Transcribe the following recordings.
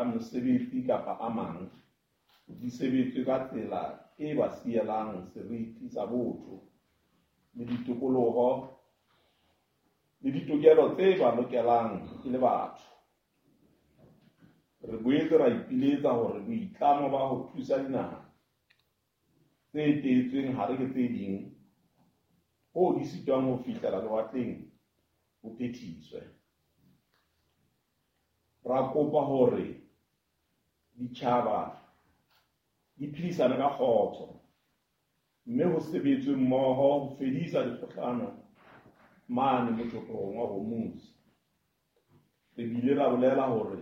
mesebetsi kapa a mang, di sebetswe ka tsela e ba sielang seriti sa botho le ditokoloho le ditokelo tse ba lokelang e le batho. Re boetse ra ipiletsa hore boitlamo ba ho thusa dinaha tse teetsweng hare ke tse ding hoo di sitwang ho fihlela lewatleng bo phethiswe. Ra kopa hore ditjhaba di phedisane ka kgotso mme ho sebetswe mmoho ho fedisa dikgohlano mane Motjhophorong wa Hormuz. Re bile ra bolela hore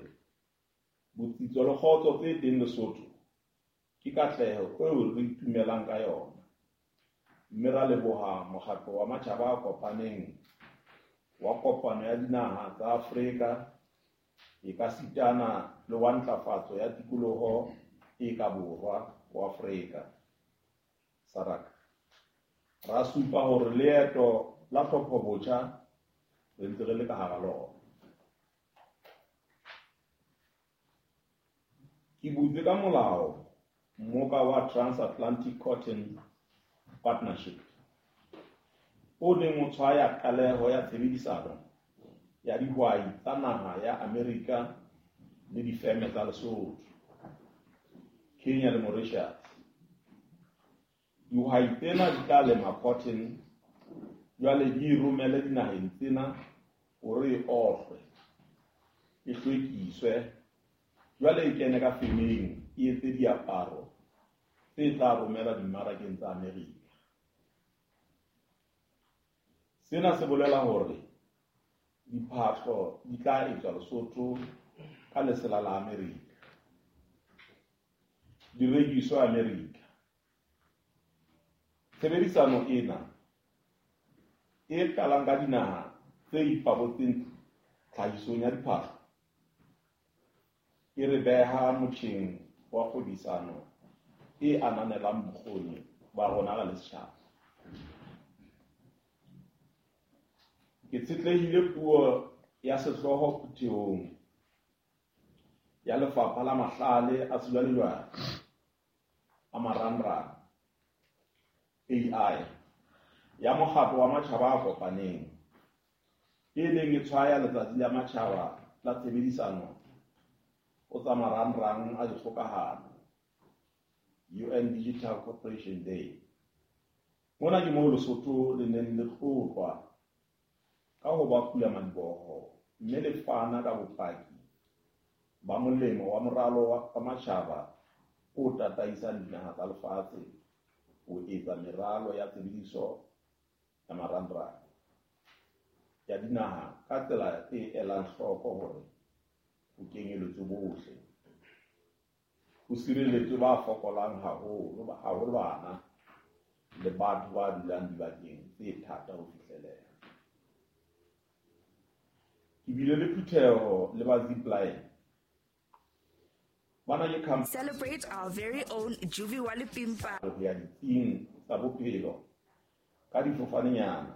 botsitso le kgotso tse teng Lesotho ke katleho eo re itumelang ka yona, mme ra leboha Mokgatlo wa Matjhaba a Kopaneng wa Kopano ya Dinaha tsa Afrika ekasitana le wa Ntlafatso ya Tikoloho e ka Borwa ho Afrika, SADC. Ra supa hore leeto la tlhophobotjha re ntse re le ka hara lona. Ke butse ka molao mmoka wa Transatlantic Cotton Partnership o neng o tshwaya qaleho ya tshebedisano ya dihwai tsa naha ya Amerika le difeme tsa Lesotho, Kenya le Mauritius. Dihwai tsena di tla lema cotton jwale di e romele dinaheng tsena hore e ohlwe, e hlwekiswe, jwale e kene ka femeng e etse diaparo tse tla romelwa dimmarakeng tsa Amerika. Sena se bolela hore diphahlo di tla etswa Lesotho ka lesela la Amerika, di rekiswe Amerika. Tshebedisano ena e qalang ka dinaha tse ipabotseng tlhahisong ya diphahlo e re beha motjheng wa kgwebisano e ananelang bokgoni ba rona re le setjhaba. Ke tshetlehile puo ya sehlooho phuthehong ya Lefapha la Mahlale a Sejwalejwale a Marangrang, AI, ya Mokgatlo wa Matjhaba a Kopaneng, e neng e tshwaya Letsatsi la Matjhaba la Tshebedisano ho tsa Marangrang a Dikgokahano, UN Digital Cooperation Day. Mona ke moo Lesotho le neng le tlotlwa ka ho ba pulamadiboho mme le fana ka bopaki ba molemo wa moralo wa matjhaba o tataisang dinaha tsa lefatshe ho etsa meralo ya tshebediso ya marangrang ya dinaha ka tsela e elang hloko hore ho kenyeletswe bohle, ho sireletswe ba fokolang haholo, haholo bana le batho ba dulang dibakeng tse thata ho fihleleha. Ke bile le phutheho le ba Zipline. Bana ke company Celebrate our very own Juvi Wale Pimpa. ho ya ditsing tsa bophelo ka difofanenyana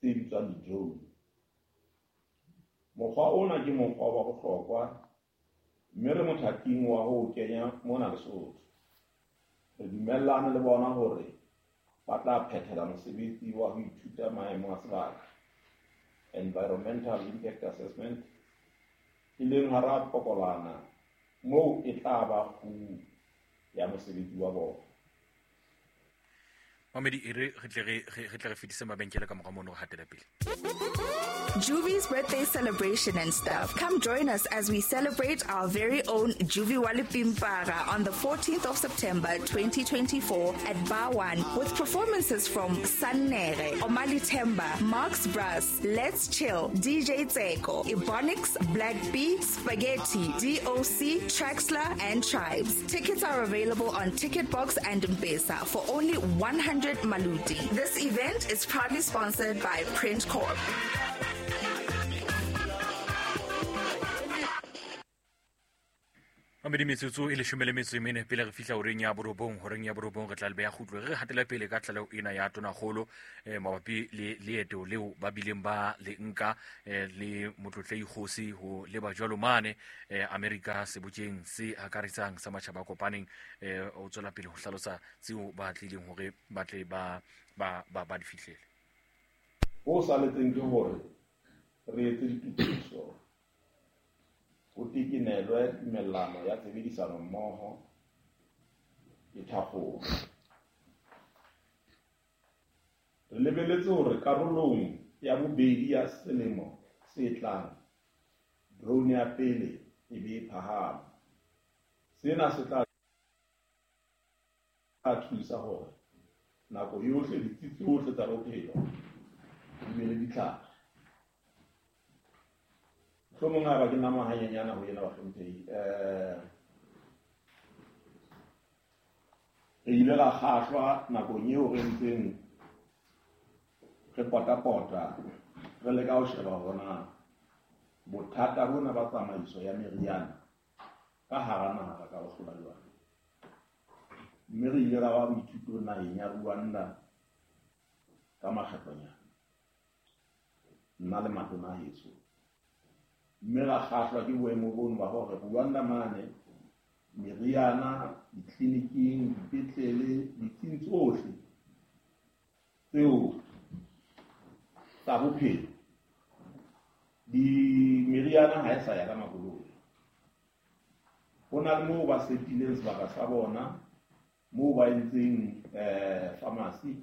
tse bitswang di-drone. Mokgwa ona ke mokgwa wa bohlokwa mme re mothating wa ho o kenya mona Lesotho. Re dumellane le bona hore ba tla phethela mosebetsi wa ho ithuta maemo a sebaka, environmental impact assessment, e leng hara pokolwana moo e tla ba kguu ya mosebetsi wa bona. Mamedi, e re re tle re re tle re fetise mabenkele ka mora mono re hatele pele. Juvie's birthday celebration and stuff. Come join us as we celebrate our very own Juvie Wale Pimpara on the 14th of September 2024 at Bar One with performances from Sannere, Omali Temba, Marks Brass, Let's Chill, DJ Tseko, Ebonics, Black B, Spaghetti, DOC, Traxler, and Tribes. Tickets are available on Ticketbox and Mpesa for only 100 Maluti. This event is proudly sponsored by Print Corp. Mamedi metsotso e 14 pele re fihla horeng ya borobong, re tla le beha kgutlo re hatela pele ka tlaleho ena ya Tonakgolo mabapi le leeto leo ba bileng ba le nka le motlotlei kgosi ho leba jwalo mane Amerika sebokeng se akaretsang sa matjhaba a kopaneng. O tswela pele ho hlalosa tseo ba tlileng hore ba tle ba di fihlele. Ho saletseng ke hore re etse ditokiso, ho tekenelwe tumellano ya tshebedisano mmoho e thakgolwe. Re lebeletse hore karolong ya bobedi ya selemo se tlang, drone ya pele e be e phahame. Sena se tla thusa hore nako yohle ditsi tsohle tsa bophelo di be le ditlhare. Mohlomong haeba ke nama hanyenyana ho yena bahlomphehi, re ile ra kgahlwa nakong eo re ntseng re potapota re leka ho sheba hore na bothata bona ba tsamaiso ya meriana ka hara naha re ka bo hlola jwang. Mme re ile ra ba boithutong naheng ya Rwanda ka makgetlonyana, nna le matona a heso. Mme ra kgahlwa ke boemo bono ba hore Rwanda mane meriana ditleliniking, dipetlele, ditsing tsohle tseo tsa bophelo, di meriana ha e sa ya ka makoloi. Ho na le moo ba setileng sebaka sa bona, moo ba entseng pharmacy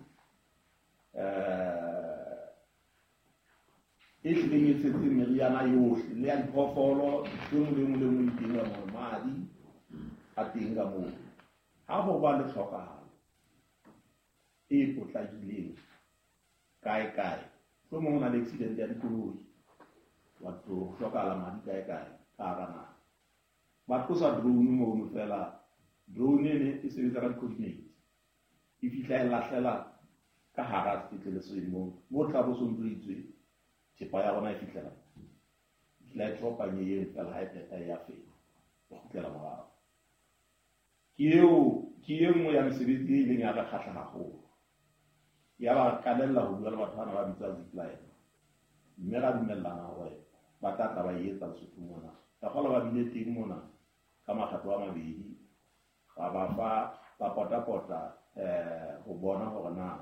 e hlileng e tshetseng meriana yohle le ya diphoofolo, ntho e nngwe le e nngwe le e nngwe e teng ka moo, madi a teng ka moo. Ha ho ba le tlhokahalo e potlakileng kae kae, mohlomong ho na le accident ya dikoloi, batho ho hlokahala madi kae kae ka hara naha, ba tlosa drone mono fela. Drone ene e sebetsa ka di-coordinates, e fihla e lahlela ka hara sepetlele se moo, moo tla bo so ntso itswe thepa ya rona e fihlela e tropanye eno fela, ha e phetha e ya fela, e kgutlela morao. Ke e nngwe ya mesebetsi e ileng ya re kgahla haholo. Ya ba qalella ho bua le batho bana ba bitswa Zipline, mme ra dumellana hore ba tla tla ba e etsa Lesotho mona. Ka kgolwa ba bile teng mona ka makgetlo a mabedi, ra ba fa ba potapota ho bona hore na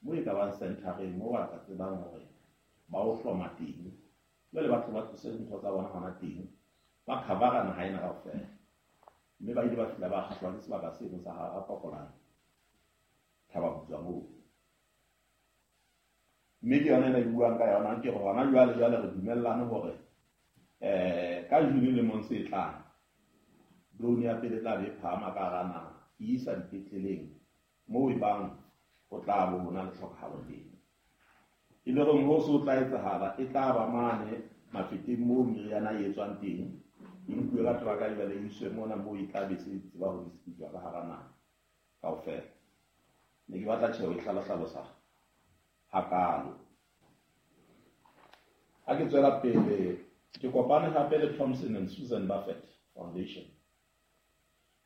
mo e ka bang centereng mo ba ka tsebang hore ba o hloma teng. Jwale batho ba tlose dintho tsa bona hona teng, ba cover-a naha ena kaofela. Mme ba ile ba fihla ba kgahlwa ke sebaka seno sa hara Pokolane, Thaba Butswa moo. Mme ke yona ena e buang ka yona, ke hore hona jwale jwale re dumellane hore ka June lemong se tlang, drone ya pele tla be e phahama ka hara naha, e isa dipetleleng moo e bang ho tla bo ho na le tlhokahalo teng. E le hore ho se ho tla etsahala, e tla ba mane mafeteng moo meriana e etswang teng, e nkuwe ka teraka jwale e iswe mona moo e tla be se tseba ho distribute ka hara naha kaofela. Ne ke batla tjheho e hlalosa hakalo. Ha ke tswela pele, ke kopane hape le Thompson and Susan Buffett Foundation,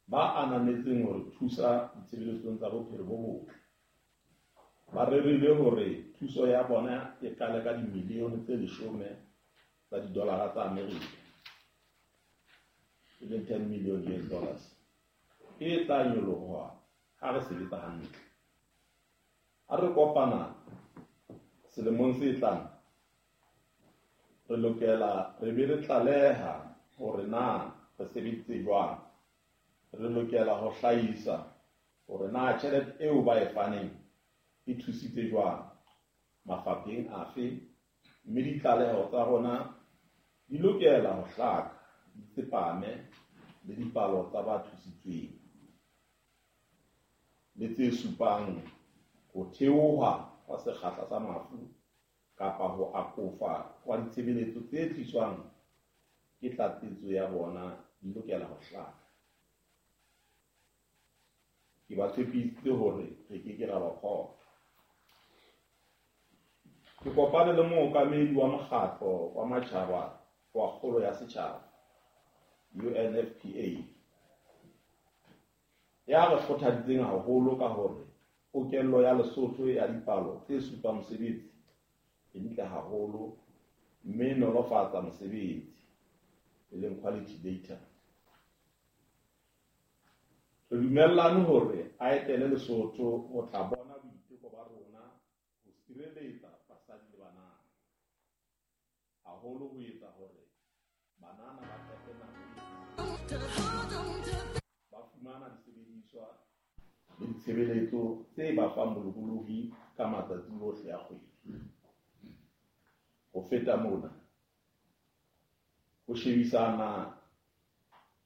ba ananetseng hore thusa ditshebeletsong tsa bophelo bo botle. Ba rerile hore thuso ya bona e qale ka dimilione tse 10 tsa didolara tsa Amerika, e leng 10 million US dollars, e tla nyoloha ha re sebetsa hantle. Ha re kopana selemong se tlang, re lokela re be re tlaleha hore na re sebeditse jwang. Re lokela ho hlahisa hore na tjhelete eo ba e faneng e thusitse jwang, mafapheng afe, mme ditlaleho tsa rona di lokela ho hlaka, di tsepame le dipalo tsa ba thusitsweng le tse supang ho theoha hwa sekgahla sa mafu kapa ho akofa hwa ditshebeletso tse tliswang ke tlatsetso ya bona di lokela ho hlaka. Ke ba tshepisitse hore re ke ke ra ba phoqa. Ke kopane le mookamedi wa mokgatlo wa matjhaba wa kgolo ya setjhaba, UNFPA, Ya re kgothaditseng haholo ka hore pokello ya Lesotho ya dipalo tse supang mosebetsi e ntle haholo mme e nolofatsa mosebetsi, e leng quality data. Re dumellane hore a etele Lesotho ho tla bona boiteko ba rona ho sireletsa basadi le banana, haholo ho etsa hore banana ba qete nako ba fumana disebediswa le ditshebeletso tse ba fang bolokolohi ka matsatsi ohle a kgwedi. Ho feta mona, ho shebisana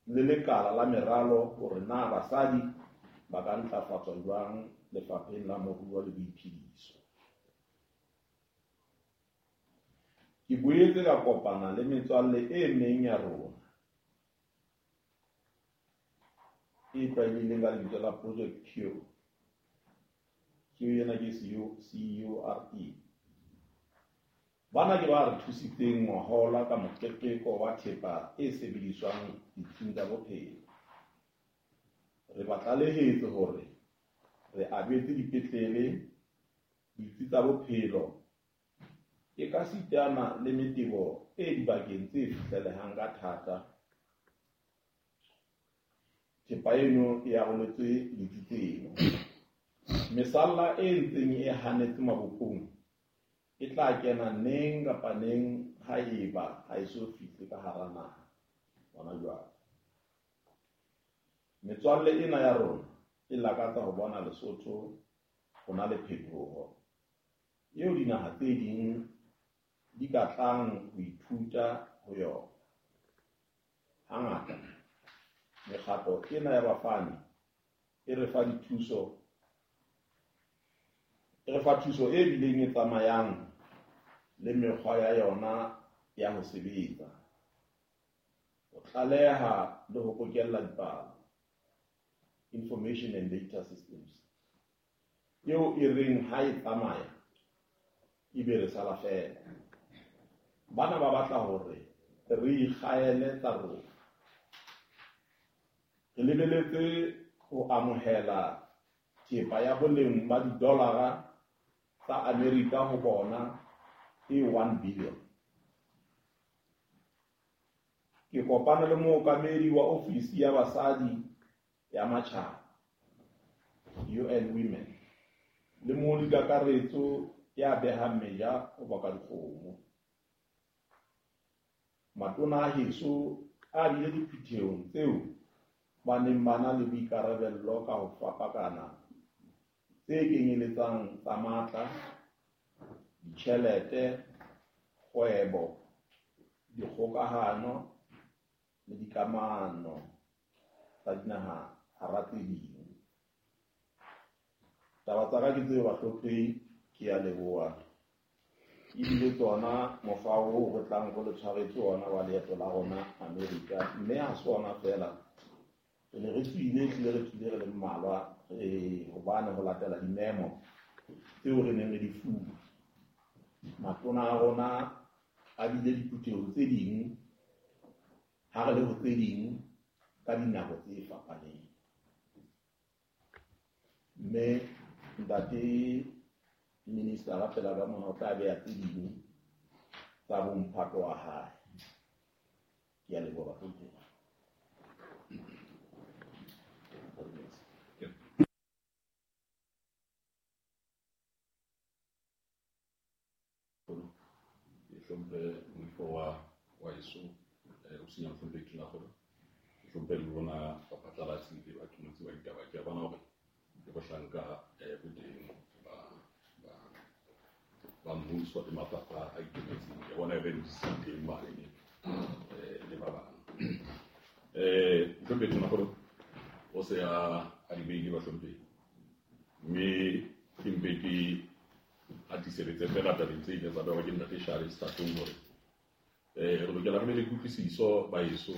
le lekala la meralo hore na basadi ba ka ntlafatswa jwang lefapheng la moruo le boiphediso. Ke boetse ka kopana le metswalle e meng ya rona e tlwaelehileng ka lebitso la Project Cure. Cure ena ke C-U-R-E. Bana ke ba re thusitseng ngwahola ka moqeqeko wa thepa e sebediswang ditsing tsa bophelo. Re ba tlalehetse hore re abetse dipetlele, ditsi tsa bophelo ekasitana le metebo e dibakeng tse fihlelehang ka thata. Thepa eno e aroletswe ditsi tseno. Mesalla e ntseng e hanetse mabopong e tla kena neng kapa neng haeba ha eso fihle ka hara naha hona jwale. Metswalle ena ya rona e lakatsa ho bona Lesotho ho na le phetoho eo dinaha tse ding di ka tlang ho ithuta ho yona. Hangata mekgatlo ena ya bafani e re fa thuso e bileng e tsamayang le mekgwa ya yona ya ho sebetsa, ho tlaleha le ho bokella dipalo, information and data systems, eo e reng ha e tsamaya ebe re sala feela. Bana ba batla hore re ikgaele tsa rona. Re lebeletse ho amohela thepa ya boleng ba didolara tsa Amerika ho bona e 1 billion. Ke kopane le mookamedi wa ofisi ya basadi ya matjhaba, UN Women, le molikakaretso ya behang meja ho baka dikgomo. Matona a heso a bile diphuthehong tseo ba neng ba na le boikarabello ka ho fapakana tse kenyeletsang tsa matla, ditjhelete, kgwebo, dikgokahano le dikamano tsa dinaha hara tse ding. Taba tsa ka ke tseo bahlomphehi, ke a leboha. Ebile tsona mofao oo re tlang re le tshwaretse ona wa leeto la rona Amerika, mme ha se ona feela. Re ne re tswile, ehlile re tswile re le mmalwa, hobane ho latela dimemo tseo re neng re di fuwe. Matona a rona a bile diphuthehong tse ding, ha re le ho tse ding ka dinako tse fapaneng. Mme ntate minister a pela ka mona o tla beha tse ding tsa bomphato wa hae. Ke a leboha bahlomphehi. Hlomphe moifo wa heso, o senya mohlomphehi Tonakgolo. Ke hlomphe le lona baphatlalatsi le baqolotsi ba ditaba. Ke a bona hore le bohlanka bo teng ba mmuso le mafapha a ikemetseng. Ke bona e re teng mane le ba bang. Mohlomphehi Tonakgolo o se a di beile bahlomphehi, mme ke mpe ke atiseletse fela tabeng tse ileng tsa bewa ke ntate Shale setatong hore re lokela re be le kutlwisiso ba heso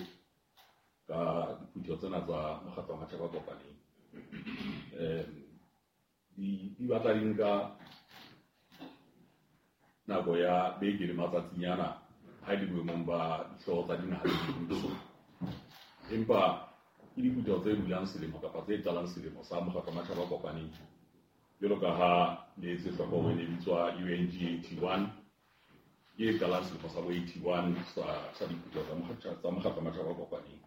ka diphutheho tsena tsa mokgatlo wa matjhaba a kopaneng. Di batla di nka nako ya beke le matsatsinyana ha e le boemong ba dihlooho tsa dinaha tse ding. Empa Ke diphutheho tse bulang selemo kapa tse qalang selemo sa Mokgatlo wa Matjhaba a Kopaneng. Jwalo ka ha le etse hloko hore e ne bitswa UNG 81, ke e qalang selemo sa bo 81 sa diphutheho tsa Mokgatlo wa Matjhaba a Kopaneng.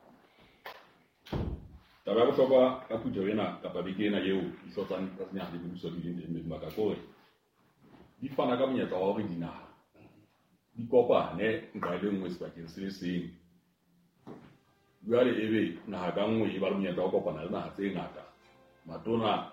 Taba ya bohlokwa ka phutheho ena kapa beke ena eo dihlooho tsa dinaha le mebuso di leng teng beng ba ka ke hore di fana ka monyetla wa hore dinaha di kopane nqa e le nngwe sebakeng se le seng. Jwale ebe naha ka nngwe e ba le monyetla wa ho kopana le naha tse ngata. Matona